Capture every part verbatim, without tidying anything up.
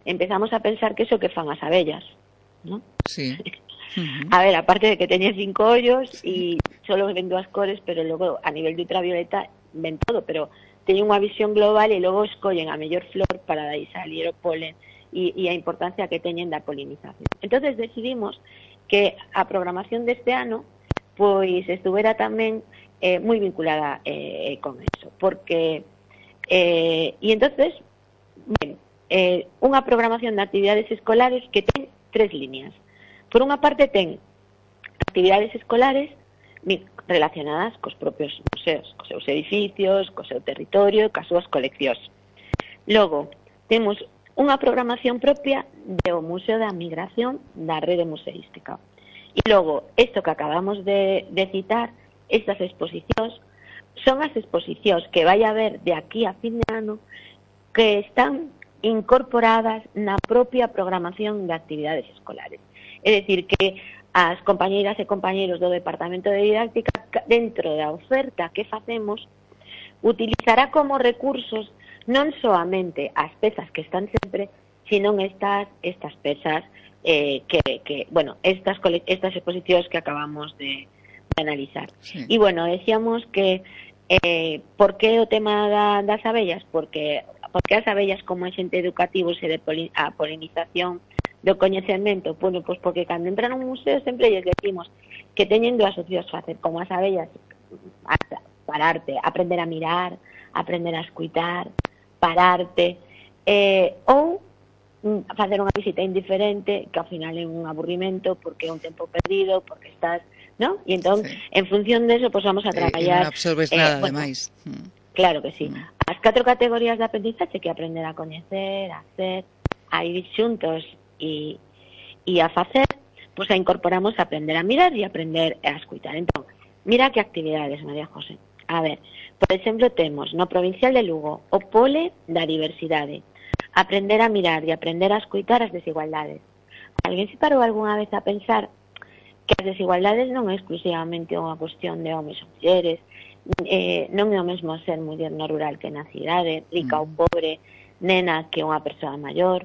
empezamos a pensar que eso que fan as abellas, ¿no? Sí. Uh-huh. A ver, aparte de que teñen cinco ollos sí. E solo ven dúas cores, pero logo a nivel de ultravioleta ven todo, pero teñen unha visión global e logo escollen a mellor flor para dai salir o polen e, e a importancia que teñen da polinización. Entonces decidimos que a programación deste ano pois estuvera tamén eh, moi vinculada eh, con eso, porque eh, e entonces ben, eh, unha programación de actividades escolares que ten tres líneas. Por unha parte ten actividades escolares relacionadas cos propios museos, cos seus edificios, co seu territorio, cas súas coleccións. Logo, temos unha programación propia do Museo da Migración da Rede Museística. E logo, isto que acabamos de, de citar, estas exposicións, son as exposicións que vai haber de aquí a fin de ano que están incorporadas na propia programación de actividades escolares. É dicir, que as compañeiras e compañeiros do Departamento de Didáctica, dentro da oferta que facemos, utilizará como recursos non soamente as pezas que están sempre, sino estas estas pezas eh, que, que, bueno, estas, estas exposicións que acabamos de, de analizar. Sí. E, bueno, decíamos que eh, por que o tema da, das abellas? Porque, porque as abellas como agente educativo e de poli, a polinización do coñecemento, bueno, pois porque cando entran a un museo sempre lles decimos que teñen dúas opcións facer, como as abellas, pararte, aprender a mirar, aprender a escuitar, pararte, eh, ou facer unha visita indiferente, que ao final é un aburrimento, porque é un tempo perdido, porque estás, ¿no? E entón, sí. En función de eso, pois vamos a traballar... E non absorbes eh, nada, bueno, ademais. Claro que sí. Mm. As catro categorías de aprendizaxe que aprender a coñecer, a hacer, a ir xuntos e, e a facer, pois a incorporamos a aprender a mirar e aprender a escutar. Entón, mira que actividades, María José. A ver, por exemplo, temos no Provincial de Lugo o pole da diversidade, aprender a mirar e aprender a escutar as desigualdades. Alguén se parou algunha vez a pensar que as desigualdades non é exclusivamente unha cuestión de homes ou mulleres, eh, non é o mesmo ser muller no rural que na cidade, rica mm. ou pobre, nena que unha persoa maior,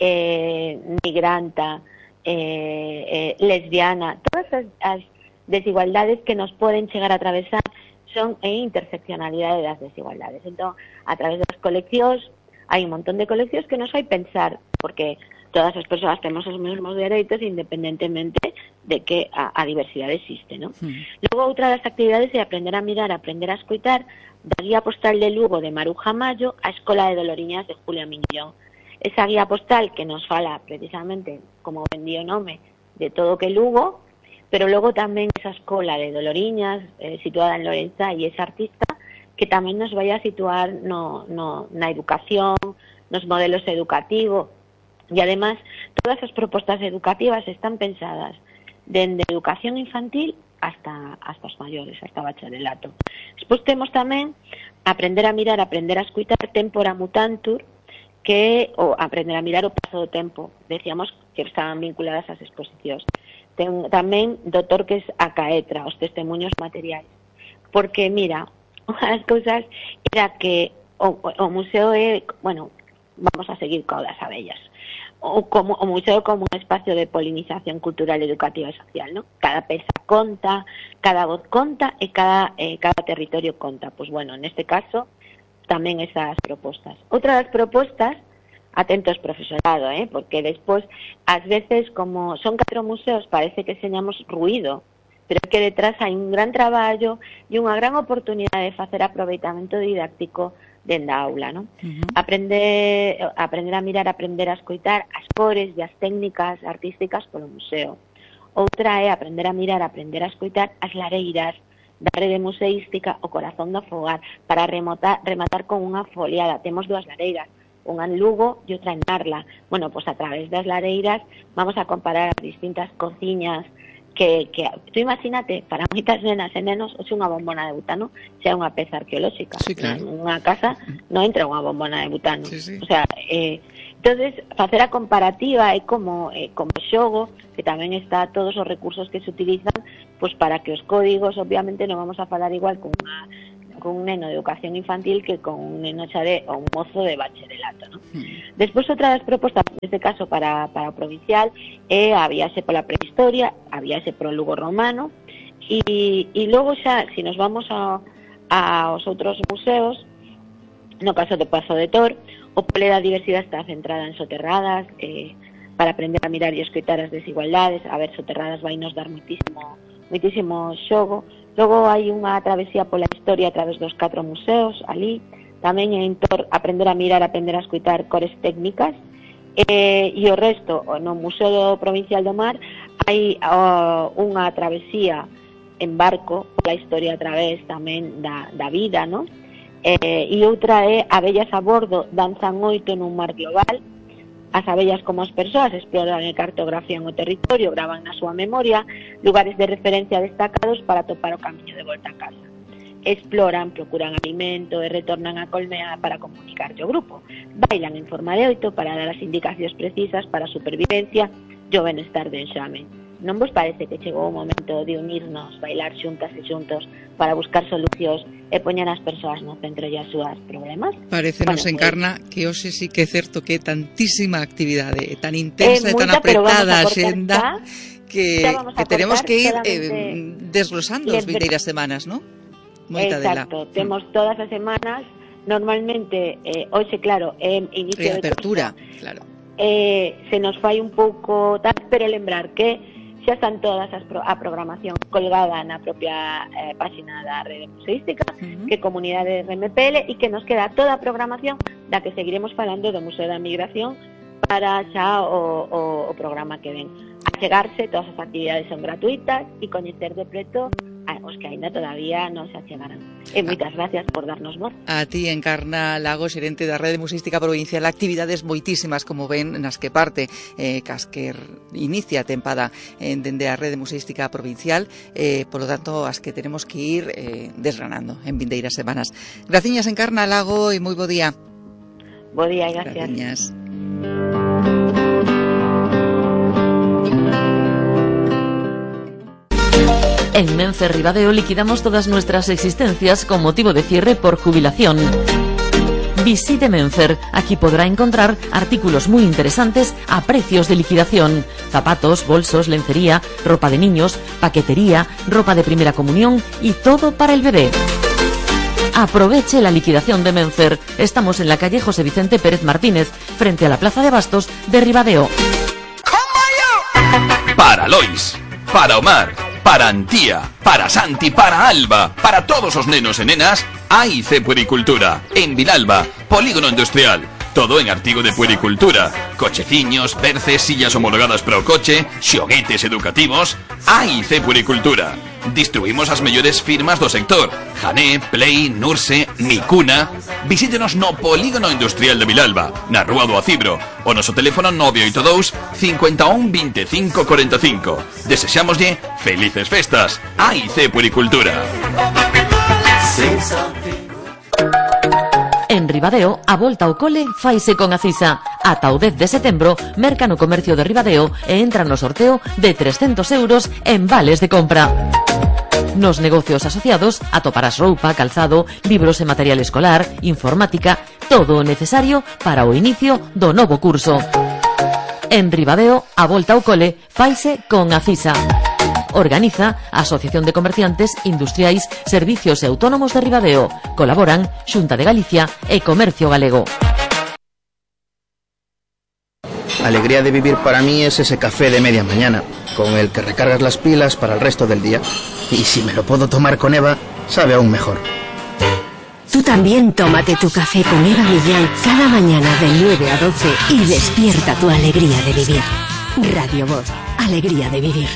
Eh, migranta, eh, eh, lesbiana, todas as, as desigualdades que nos poden chegar a atravesar son a interseccionalidade das desigualdades. Entón, a través das coleccións, hai un montón de coleccións que nos fai pensar, porque todas as persoas temos os mesmos dereitos independentemente de que a, a diversidade existe, ¿no? Mm. Logo, outra das actividades é aprender a mirar, aprender a escoitar, da guía postal de Lugo de Maruja Mayo a Escola de Doloriñas de Julia Miñón. Esa guía postal que nos fala precisamente, como vendí o nome, de todo que Lugo, pero logo tamén esa escola de Doloriñas, eh, situada en Lorenza, e esa artista que tamén nos vai a situar no, no, na educación, nos modelos educativos, e además todas as propostas educativas están pensadas dende educación infantil hasta, hasta os maiores, hasta bacharelato. Despois temos tamén aprender a mirar, aprender a escutar, tempora mutantur, que o aprender a mirar o paso do tempo. Decíamos que estaban vinculadas ás exposicións. Ten tamén do Torques a Caetra, os testemunhos materiais. Porque, mira, unha das cousas era que o, o museo é, bueno, vamos a seguir co das abellas. O, como, o museo como un espacio de polinización cultural, educativa e social, ¿no? Cada peza conta, cada voz conta e cada, eh, cada territorio conta. Pois, bueno, neste caso, tamén esas propostas. Outra das propostas, atentos profesorado, eh, porque despois, ás veces, como son catro museos, parece que señamos ruído, pero que detrás hai un gran traballo e unha gran oportunidade de facer aproveitamento didáctico dende a aula, ¿no? Uh-huh. Aprender, aprender a mirar, aprender a escoitar as cores e as técnicas artísticas polo museo. Outra é aprender a mirar, aprender a escoitar as lareiras da rede museística, o corazón do fogar, para rematar, rematar con unha foliada. Temos dúas lareiras, unha en Lugo e outra en Narla. Bueno, pois a través das lareiras vamos a comparar as distintas cociñas que, que tú imagínate, para moitas nenas e nenos, o sea, unha bombona de butano xa é unha peza arqueolóxica. Sí, claro. Unha casa non entra unha bombona de butano. Sí, sí. O sea, eh, entonces, facer a comparativa é como, eh, como xogo, que tamén está todos os recursos que se utilizan, pues para que os códigos, obviamente, non vamos a falar igual con unha, cun neno de educación infantil que con un neno xa de, ou un mozo de bacharelato, ¿no? Mm. Despois, outra das propostas, neste caso para, para o provincial, é a viaxe pola prehistoria, a viaxe pro Lugo romano, e, e logo xa, se nos vamos a, a, aos outros museos, no caso do Pazo de Tor, o Pole da Diversidade está centrada en soterradas, eh, para aprender a mirar e escoitar as desigualdades. A ver, soterradas vai nos dar muitísimo, muitísimo xogo. Logo hai unha travesía pola historia a través dos catro museos ali. Tamén en Tor aprender a mirar, aprender a escoitar cores técnicas. Eh, e o resto, no Museo Provincial do Mar, hai uh, unha travesía en barco pola historia a través tamén da, da vida, non? Eh, e outra é Abellas a bordo, danzan oito nun mar global. As abellas como as persoas exploran e cartografían o territorio, graban na súa memoria lugares de referencia destacados para topar o camiño de volta a casa. Exploran, procuran alimento e retornan a colmea para comunicarlle ao grupo. Bailan en forma de oito para dar as indicacións precisas para a supervivencia e o benestar do enxame. Non vos parece que chegou o momento de unirnos, bailar xuntas e xuntos para buscar solucións e poñer as persoas no centro e as súas problemas? Parece nos bueno, encarna pues, que hoxe sí que é certo que é tantísima actividade, tan intensa e tan apretada a xenda que, que tenemos que ir eh, desglosando as vindeiras semanas, ¿no? Moita Exacto, dela. Temos todas as semanas, normalmente, eh, hoxe, claro, é eh, inicio de apertura, curso, claro. Eh, se nos fai un pouco tal, pero lembrar que xa están todas as pro, a programación colgada na propia eh, página da Rede Museística, uh-huh. que Comunidade R M P L, e que nos queda toda a programación da que seguiremos falando do Museo da Migración para xa o, o, o programa que ven. A chegarse, todas as actividades son gratuitas e coñecer de preto a os que aínda todavía non se achegaran. E moitas gracias por darnos voz. A ti, Encarna Lago, xerente da Rede Museística Provincial, actividades moitísimas, como ven, nas que parte eh, Casquer inicia a tempada eh, dende a Rede Museística Provincial, eh, polo tanto, as que tenemos que ir eh, desgranando en vindeiras semanas. Graciñas, Encarna Lago, e moi bo día. Bo día, gracias. Graciñas. En Menfer Ribadeo liquidamos todas nuestras existencias con motivo de cierre por jubilación. Visite Menfer, aquí podrá encontrar artículos muy interesantes a precios de liquidación. Zapatos, bolsos, lencería, ropa de niños, paquetería, ropa de primera comunión y todo para el bebé. Aproveche la liquidación de Menfer. Estamos en la calle José Vicente Pérez Martínez, frente a la Plaza de Bastos de Ribadeo. Para Lois, para Omar, para Antía, para Santi, para Alba, para todos os nenos e nenas, A I C Puericultura, en Vilalba, Polígono Industrial. Todo en artigo de puericultura. Cocheciños, perces, sillas homologadas para o coche, xoguetes educativos. A I C Puericultura. Distribuimos as mellores firmas do sector: Jané, Play, Nurse, Micuna. Visítenos no Polígono Industrial de Vilalba, na Rúa do Acibro, o noso teléfono nove oito dous, cinco un, veinticinco, cuarenta y cinco. Desexámoslle felices festas. A I C Puericultura. En Ribadeo, a volta ao cole faise con Acisa. Ata o dez de setembro, merca no comercio de Ribadeo e entra no sorteo de trescentos euros en vales de compra. Nos negocios asociados atoparás roupa, calzado, libros e material escolar, informática, todo o necesario para o inicio do novo curso. En Ribadeo, a volta ao cole faise con Acisa. Organiza a Asociación de Comerciantes Industriais, Servicios e Autónomos de Ribadeo. Colaboran Xunta de Galicia e Comercio Galego. Alegría de vivir para mí es ese café de media mañana, con el que recargas las pilas para el resto del día. Y si me lo puedo tomar con Eva, sabe aún mejor. Tú también tómate tu café con Eva Millán cada mañana de nueve a doce y despierta tu alegría de vivir. Radio Voz, alegría de vivir.